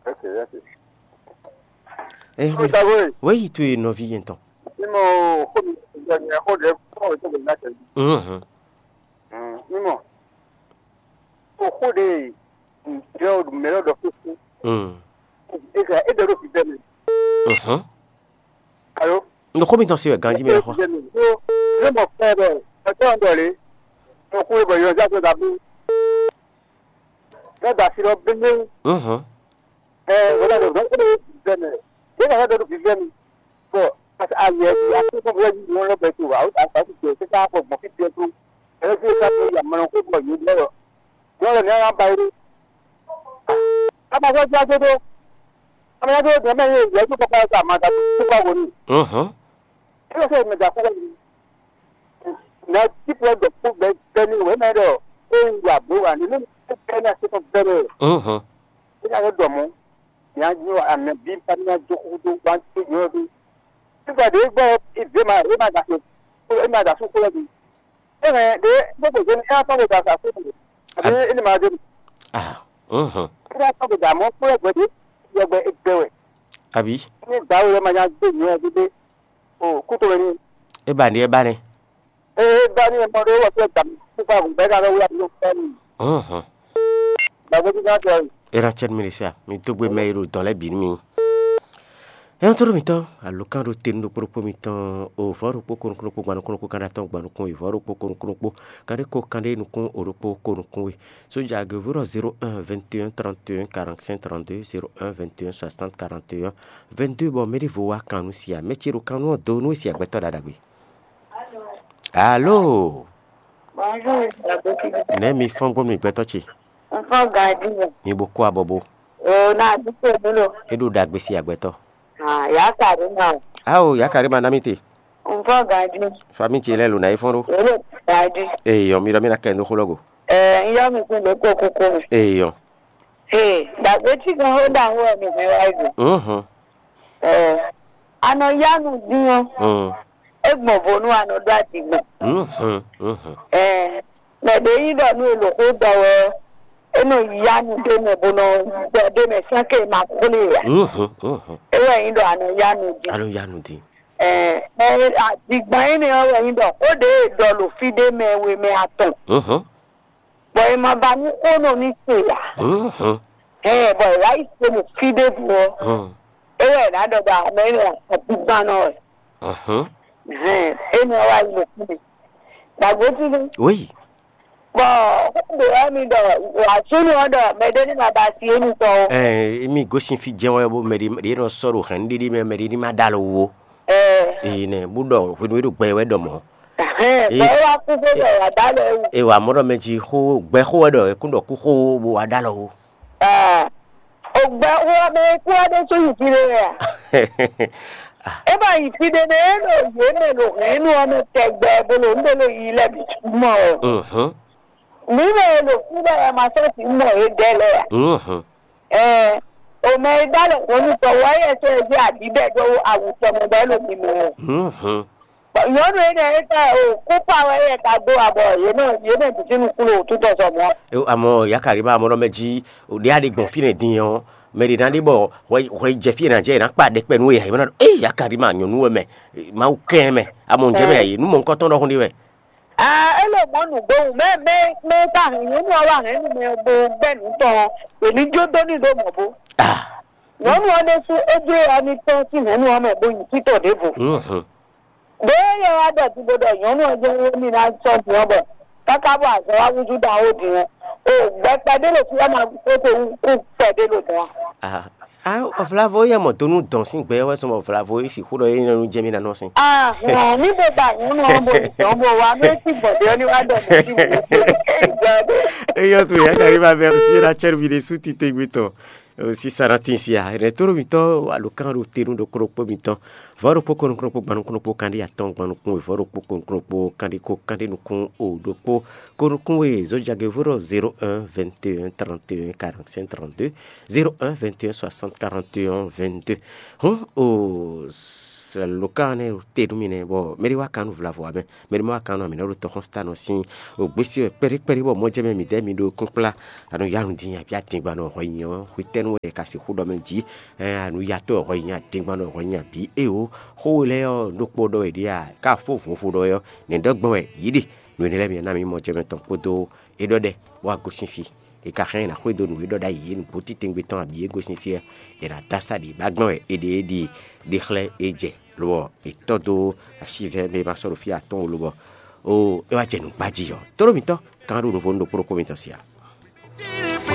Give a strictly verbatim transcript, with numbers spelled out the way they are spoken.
Ok, ok. Eh, Ó ta wé, wéyi tu e nɔvi yɛn tɔn. Ní mɔ xó mi, ìjọ ni xó ɖe kó mi tó gbé náà tẹ̀lé. Mhm. Ní mɔ, ó xó ɖe, ìjọ mɛ lɔ ɖɔ fífú. Mm. É ɖɔ ɖo fífẹ́ mi. Mhm. Alo? Ndo xó mi tɔn si wɛ ganji mi lɛ xɔ. Fífẹ́ mi. Ó, ní mɔ fẹ́ ɖɔ, ẹ tọ́ ń dọ̀ lé. Mo kú ibọ̀ yọ jáde dàbí. Ní da sí lọ bí mi. Mhm. Ɛ, wọ́n dàgbà gbọ́n kúrò bẹ́ẹ̀ mẹ́. Yé kàkà dọ́dún fífẹ́ mi. Bọ̀, àti àyè ẹ̀sìn àti fún búrẹ́dì ni wọ́n lọ bẹ̀ tó wà. Ó ta àti jẹ ṣé ká pọ̀ gbọ̀n fífi ẹ̀ tó. Ẹ̀rọ tí ó ká tó yà mọ̀nà kó bọ̀ yóò lọ́rọ̀. Yóò lọ ní ara ba yé. Ká máa fẹ́ jáde tó. Ká máa jáde tó mẹ́rin yóò yẹ kó kọ́kọ́ ká máa dàgbà tó bá wò ní. Mhm. Kí ló fẹ́ mi dà kó wọ́n ní? Nà tí pọ̀ dọ̀ kó bẹ́ẹ̀ bẹ́ẹ̀ ni wẹ́mẹ́ dọ̀. Ó ń wà bó wà nínú bẹ́ẹ̀ ní àti fún bẹ́ẹ̀ rẹ̀. Mhm. Ina yɛ dɔ mɔ, nya nyo amɛ bi pa nya do kudo wan to nyo do. Sisan de gbɔ ive ma e ma da so, e ma da so kolo bi. E mɛ de gbogbo jeni e atɔ bo da sa so. Abi e ni ma de. Ah. Mhm. E atɔ bo da mɔ kolo gbɛ de, yɛ gbɛ e gbɛ wɛ. Abi. Ni da wo ma nya do nyo de de. O kuto ni. E ba ni e ba ni. Ee, dani e mɔ ɖó wɔ fɛ dam kufa gun bɛɛ ka ɖɔ wula ɖó fɛn. Mhm. Gbàgbé bí ká sọ yìí. Era cɛn mi sa, mi dó gbe mɛ e ɖo dɔn lɛ́ɛ bǐ nú mi. Ɛn tɔ́ mitɔn, alokan ɖo te nú ɖokpó ɖokpó mitɔn, o vɔ̌ ɖokpó kónúkúnúkpó gban nukúnnukpó kan ɖé atɔn gban nukún, e vɔ̌ ɖokpó kónúkúnúkpó kan ɖé kó kan ɖé nukún, o ɖokpó kónúkún we. Sójà gěvó ɖɔ zéro un vingt et un trente et un quarante-cinq trente-deux, zéro un vingt et un soixante quarante et un vingt-deux, bɔ mɛ ɖěvo wá kan nú sia, mɛ ce ɖo kan nú ɔ́ do nú e sia gbɛtɔ́ ɖaɖagbe. Alo. Bonjour, Abotí. Nɛ̌ mi fɔ́n gbɔn mi gbɛtɔ́ ce? N fɔ́n ganjí. Mi bo kó abɔbo. O na dúpọ̀ mi lo. E ɖo ɖagbe si agbɛtɔ. Ah, ya ka ɖo ma. Ao, ya ka ɖo ma ná mi te. N fɔ́n ganjí. Fami ce lɛ lo na yi fɔ́n ɖo. E ɖo ganjí. Eyɔ, mi ɖɔ mi na kɛ ndo xó lɔ go. Ɛ, n yɔ mi kun ɖo ko kuku mi. Eyɔ. Ee, ɖagbe ci gan xó ɖaxó wɛ mi hɛn wá yi. Mhm. Ɛ, a nɔ yá nu dín ɔ́. Mm. É gbɔn vo nú a nɔ ɖó aɖǐ gbɔn. Mhm, mhm. Ɛɛ, mɛ ɖě nyí ɖɔ nú è lǒ xó ɖɔ wɛ ɔ́, é nɔ yá nu ɖé mɛ bó nɔ ɖɔ ɖé mɛ sɛ́n ke ma xwlé ǎ. Mhm, mhm. É wɛ nyí ɖɔ a nɔ yá nu dín. A nɔ yá nu dín. Ɛɛ, mɛ aɖǐgbɔn énɛ́ ɔ́ wɛ nyí ɖɔ xó ɖě è ɖɔ ɖo fí ɖé mɛ we mɛ atɔn. Mhm. Bɔ è ma ba nú xó nɔ ní se ǎ. Mhm. Ɛɛ, bɔ è wá yi se ɖo fí ɖěvo ɔ́, Mhm. é wɛ è nǎ ɖɔ ɖɔ mɛ énɛ́ aɖǐgbannɔ wɛ. Mhm. Hɛn, énɛ́ ɔ́ wá yi ɖo fí ɖé. Ɖagbe fínɛ́. Oui. Bɔ xó ɖě ɔ́ mi ɖɔ wǎ súnnu ɔ́ ɖɔ mɛɖé ní ma ba asi émítɔn ó. Ɛɛ, mi gosín fí jɛ́n wɛ bó mɛ ɖé ɖé nɔ sɔ́ ɖo hɛ̌nnu ɖéɖé mɛ mɛ ɖé ní ma ɖó alɔ wú ó. Ɛɛ. Ee nɛ, bó ɖɔ hwenu e ɖo gbɛ wɛ ɖɔ mɔ̌. Ɛhɛn, bɔ é wá kú xó ɖɔ wǎ ɖó alɔ wú. E wǎ mɔ ɖɔ mɛ jí xó gbɛ xó wɛ ɖɔ é kún ɖɔ kú xó bó wá ɖó alɔ wú. Ah, o gbɛ xó ɔ́ mɛ e kú ɔ́ ɖésú yi fí ɖé wɛ a? É ma yi fí ɖé nɛ́, é ɖo yě mɛ ɖo hɛ̌nnu ɔ́ mɛ tɛgbɛ bó ɖo nǔ ɖé ɖo yiyi lɛ́ɛ bǐ mɔ wɛ. Mhm. Mǐ mɛ e ɖo kúɖɔ wɛ ma sɔ́ sǐ mɔ yědɛɛ lɛ́ɛ ǎ. Mhm. Ɛɛ, o mɛ e dó alɔ hɔn nú tɔwú ɔ́, é sɔ́ ɛ zé aɖǐɖɛ dó awu tɔn mɛ bɔ é ɖo mimɛ wɛ. Mhm. Bɔ nyɔ̌nu énɛ́ e ka o kú kpa wɛ é ka dó wa bɔ yě mɛ yě mɛ bǐ sín nukún ɖo wǔtútɔ sɔ mɔ̌. Amɔ Yakarima amɔ ɖɔ mɛ jí ɖě a ɖe gbɔn fínɛ́ din ɔ́, mɛ ɖě ná ɖe bɔ hwɛ hwɛ jɛ fí e ná jɛ è nǎ kpa ɖɛkpɛ nú we ǎ, è nǎ ɖɔ éyi Yakarima nyɔ̌nu wɛ mɛ, Mawu kɛn mɛ, amɔ ǹjẹ́ mɛ ǎ, nú mɔ̌hunkɔtɔn ɖɔhun ɖé wɛ. Ah, é lɔ mɔ̌ nǔgbówun mɛ mɛ mɛ ka hɛn nyɔ̌nu ɔ́ wá hɛn nú mɛ bo gbɛ́ nǔ tɔn ɔ́, è ní jó dó n'i ɖó mɔ̌ bó. Ah. Nyɔ̌nu ɔ́ ɖésú é jló ɔ́ ní tɔ́n sín hɛ̌nnu ɔ́ mɛ bó nyi títɔ ɖěvo. Mhm. Ɖě yɛ wá ɖɔ din bó ɖɔ nyɔ̌nu ɔ́ jɛ́n é ní ná sɔ́ din ɔ́ bɔ káká bɔ azɔn wá húzú ɖaxó din ɔ́, o gbɛ kpɛɖé ɖo fí wá ma kó te kú kpɛɖé ɖo dɔ̌n. Ah. Ah, Vlavo yɛ mɔ donu dɔn sín gbɛ wɛ sɔmɔ Vlavo yi sixú ɖɔ yé nyɔnu jɛ mí nanɔ sín. Ah, hɔn, mi bɛ ba nyɔnu ɔ́ bo dɔn bo wa mɛ ti gbɔdɛ ɔ́ ni wa dɔ mɛ ti wò. Eyɔ to ya kari ma merci la cɛri bi de su ti te gbe tɔ. Sisa na tin sia. Retour mi tɔ alo kan ro tenu do kro po mi tɔ. Vɔɖokpó kɔnukɔnukpó gbanukɔnukpó kanɖi atɔn gbanukun we vɔɖokpó kɔnukɔnukpó kanɖi ko kanɖi nukun o ɖokpó kɔnukun we zojage vɔɖɔ zéro un vingt et un trente et un quarante-cinq trente-deux, zéro un vingt et un soixante quarante et un vingt-deux. Hɔn o Lǒkan nɛ́ te nú mì nɛ́, bɔ mɛɖé wá kan nú vlavo ǎ mɛ, mɛɖé ma wá kan nú amǐ nɔ ɖo tɔxɔ́nstánɔ sín ògbésí wɛ kpɛɖé kpɛɖé, bɔ mɔjɛmɛ mǐdɛɛ mi ɖo kúnkplá. Anu ya nu din abí adingban nɔ hwɛ nyi ɔ́, hwetɛ́nu wɛ ka sixú ɖɔ mɛ jí? Anu ya tɔn hwɛ nyi adingban nɔ hwɛ nyi abí? Éwo, xó we lɛ́ɛ ɔ́, ɖokpó ɖɔ wɛ ɖíe a? Ká fó vovo ɖɔ wɛ ɔ́, nɛ̌ ɖɔ gbɔn wɛ? Yǐ ɖe. Nǔ énɛ́ lɛ́ɛ mi ná mì mɔjɛmɛ tɔn kpódó é ɖɔ ɖɛ, bó wá gosín fí. È ka hɛn ɛ ná xwedó nǔ e ɖɔ ɖ'ayǐ é nǔgbó titɛngbé tɔn abǐ é gosín fí ɔ́, è nǎ dó asá ɖě ba gbɔn wɛ è ɖe é ɖi ɖe xlɛ́ é jɛ, lobɔ è tɔ́ dó asívɛ́ mɛ e ma sɔ́ ɖo fí atɔ́ɔ́n lobɔ ó é wá jɛ nǔgbá jí ɔ́. Tóɖó mǐtɔn kan ɖó nǔvó nú ɖokpó ɖokpó mitɔn sia.